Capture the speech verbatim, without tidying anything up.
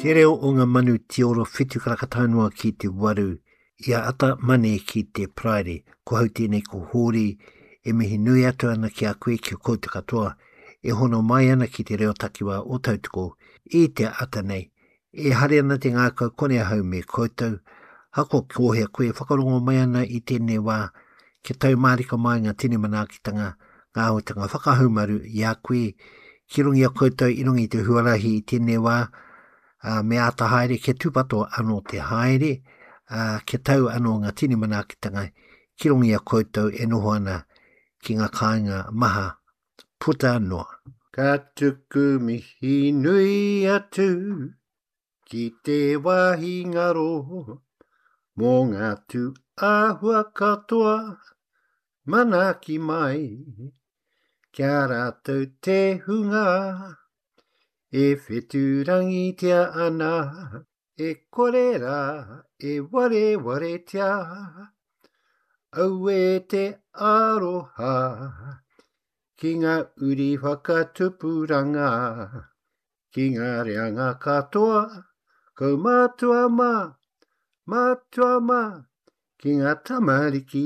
Te reo o ngā manu tioro whitu karaka tae noa ki te waru i a ata mane ki te Paraire. Ko hau tēnei ko Hōri e mihi nui atu ana ki a koe ki a koutou katoa e hono mai ana ki te reo takiwā o Tautoko i te ata nei. E hari ana te ngākau kone ahau me koutou. Hako kōhea koe whakarongo mai ana i tēnei wā kia tau mārika mai ngā tini manaakitanga, ngā āhuatanga whakahaumaru i a koe ki runga i a koutou i runga i te huarahi i tēnei wā, uh, me āta haere kia tūpato anō te haere, uh, kia tau anō ngā tini manaakitanga ki runga i a koutou e noho ana ki ngā kāinga maha puta noa. Ka tuku mihi nui atu ki te wāhi ngaro mō ngā tū āhua katoa manaaki mai kia rātou te hunga e whetūrangitia ana e kore rā e warewaretia aue te aroha ki ngā uri whakatupuranga ki ngā reanga katoa kaumātua mā, mātua mā, ki ngā tamariki